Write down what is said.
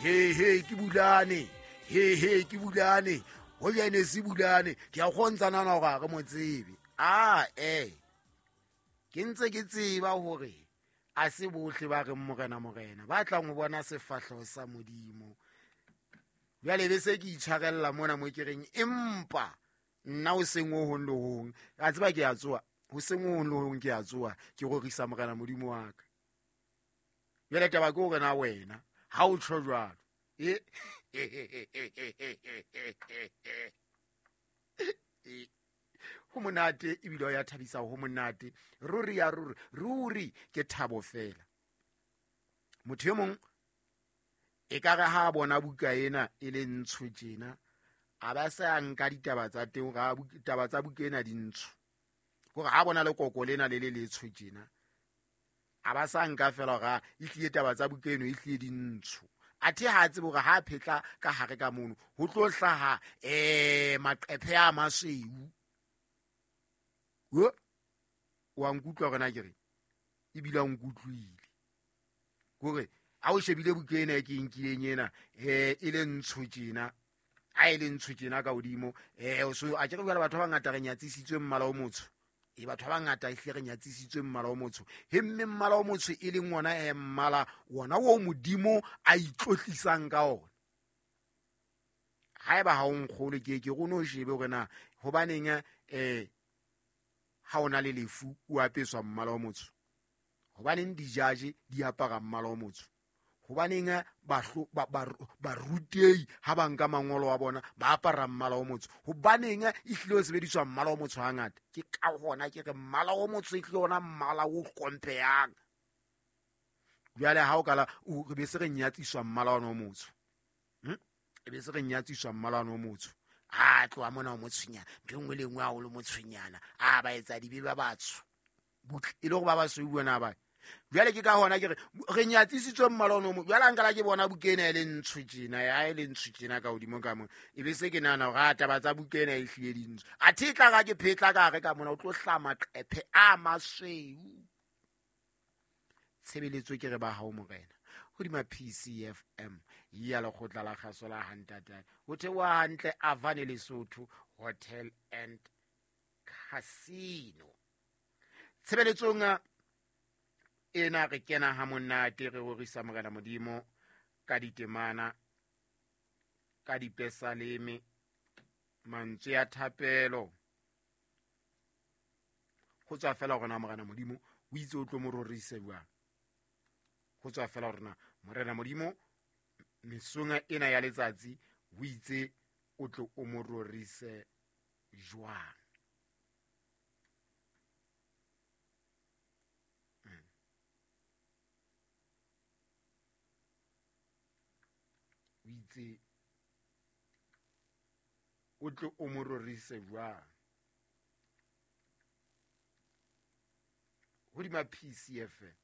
He he ke bulane, he he ke bulane, ho jane se bulane. Ke a kgontsha nana hore ha re mo tsebe. A e ke ntse ke tseba hore a se bohle ba reng morena morena ba tlang ho bona sefahleho sa Modimo. Jwale be se ke itshwarella mona mo ke reng, empa nna ho seng ho hong le hong, a tseba ke a tsoa, ho seng ho hong le hong ke a tsoa, ke rorisa morena Modimo wa ka. Jwale taba ke hore na wena ha o tjho jwalo. E ho monate ebile o ya thabisa, ho monate ruri ya ruri ruri, ke thabo fela. Motho e mong e ka re ha bona buka ena e le ntsho tjena, a ba se a nka ditaba tsa teng, hore taba tsa buka ena di ntsho, hore ha bona lekoko lena le le letsho tjena, a ba sa nka fela hore e tlile taba tsa buka eno e tlile di ntsho. Athe ha tsebe hore ha phetla ka hare ka mono ho tlo hlaha maqephe a masweu. Wa nkutlwa hore na ke re ebile a nkutlwile kore ha o shebile buka ena e ke nkileng ena, e le ntsho tjena, ha e le ntsho tjena ka hodimo, so a ke re jwale batho ba bangata re nyatsisitswe mmala o motsho. E batho ba bangata ehlile re nyatsisitswe mmala o motsho. He mme mmala o motsho e leng wona mmala wona o Modimo a itlotlisang ka ona. Haeba ha o nkgolwe, ke ke go no shebe hore na hobaneng ha o na le lefu o apeswa mmala o motsho, hobaneng dijaje di apara mmala o motsho, hobaneng barutei ha ba nka mangolo a bona ba apara mmala o motsho, hobaneng e hlile o sebediswa mmala o motsho hangata. Ke ka hona ke re mmala o motsho e hlile ona mmala o hlomphehang. Jwale ha o kala o re be se re nyatsiswa mmala ona o motsho, e be se re nyatsiswa mmala ona o motsho. A tloha mona o motshonyana, ntho e nngwe le nngwe ha o le motshonyana, a ba etsa dibe ba batsho butle, e le hore ba basweu bona ba. Jwale ke ka hona ke re re nyatsisitswe mmala ono mo. Jwale ha nkala ke bona buka ena e le ntsho tjena, ya e le ntsho tjena ka hodimo ka mona, e be se ke nahana hore a taba tsa buka ena e hlile di ntsho. Athe e tla ra ke phetla ka hare ka mona, o tlo hlaha maqephe a masweu. Tshebeletso ke re ba hao morena hodima PCFM ya lekgotla la kgaso la Hantatane, ho theoha hantle Avane Lesotho Hotel and Casino. Tshebeletsong ena re kena ha monate, re rorisa morena Modimo ka ditemana, ka dipesaleme, mantswe a thapelo. Ho tswa fela hore na morena Modimo o itse o tlo mo rorise jwang. Ho tswa fela hore na morena Modimo mesong ena ya letsatsi o itse o tlo o mo rorise jwang. O itse o tlo o mo rorise jwang. Hodima PCFM.